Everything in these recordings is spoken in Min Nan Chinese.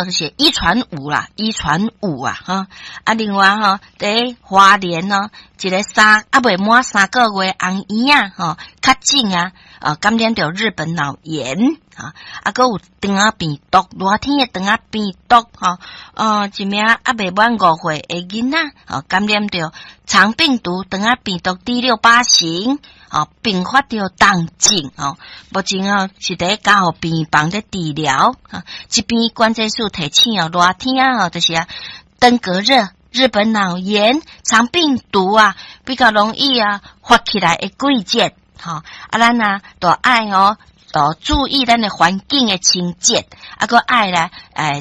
就是遺傳有啦，遺傳有啊，吼。啊，另外吼，佇花蓮哦，一个猶未滿3個月紅嬰仔吼，確診啊，感染著日本腦炎，啊，啊，閣有腸仔病毒，熱天的腸仔病毒，吼，一名猶未滿5歲的囡仔，吼，感染著腸病毒腸仔病毒 D68型，吼，併發著重症，吼，目前哦是佇加護病房咧治療，啊，這邊關鍵數提醒哦，熱天啊，吼，就是啊，登革熱、日本腦炎、腸病毒啊，比較容易啊發起來的季節，吼，啊，咱啊，都愛哦，注意咱的環境的清潔，啊，閣愛來，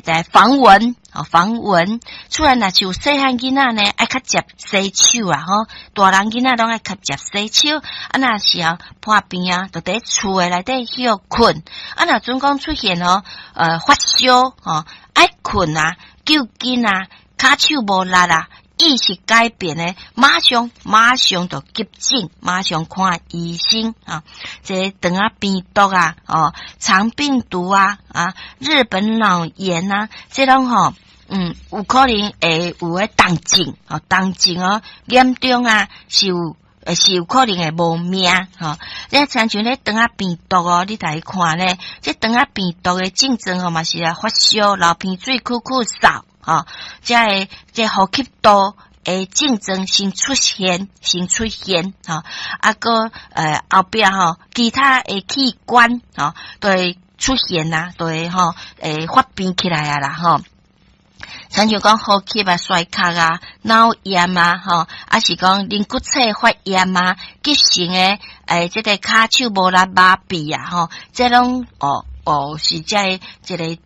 來防蚊，哦，防蚊。厝內若是有細漢囡仔呢，愛較捷洗手啊，吼，大人囡仔攏愛較捷洗手。啊，若是啊破病啊，就佇厝的內底歇睏。啊，若準講出現哦，發燒，吼，愛睏啊，揪筋啊，跤手無力啊，意識改變呢，馬上馬上就急診，馬上看醫生啊！這腸仔病毒啊，哦，腸病毒啊，啊，日本腦炎啊，這攏吼，有可能會有個重症，哦，重症哦，嚴重啊，是有可能會無命，吼。你親像咧腸仔病毒哦，你來看咧，這腸仔病毒的症狀吼嘛是啊發燒、流鼻水、咳咳嗽。吼，這个這呼吸道的症狀先出現，先出現，吼，啊，閣後壁吼，其他的器官吼，都會出現啊，都會吼，會發病起來啊啦，吼。親像講呼吸啊衰竭啊、腦炎啊，吼，啊是講淋骨刺發炎啊、急性的這个跤手無力麻痹啊，吼，這攏哦哦是這个這个。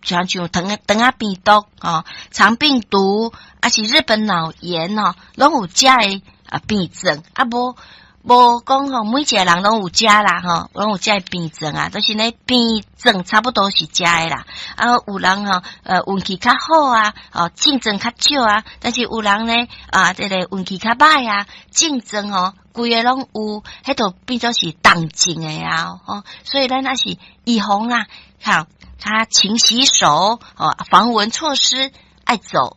像腸仔病毒吼，腸病毒，啊是日本腦炎哦，攏有這个啊病症，啊無無講吼，每一個人攏有這啦吼，攏有這个病症啊，就是呢病症差不多是這个啦。啊，有人吼，運氣較好啊，哦，症狀較少啊，但是有人呢，啊，這個運氣較歹啊，症狀吼，規个攏有，彼就變做是重症的啊，吼，所以咱也是預防啊，好。他勤洗手哦，防蚊措施愛做。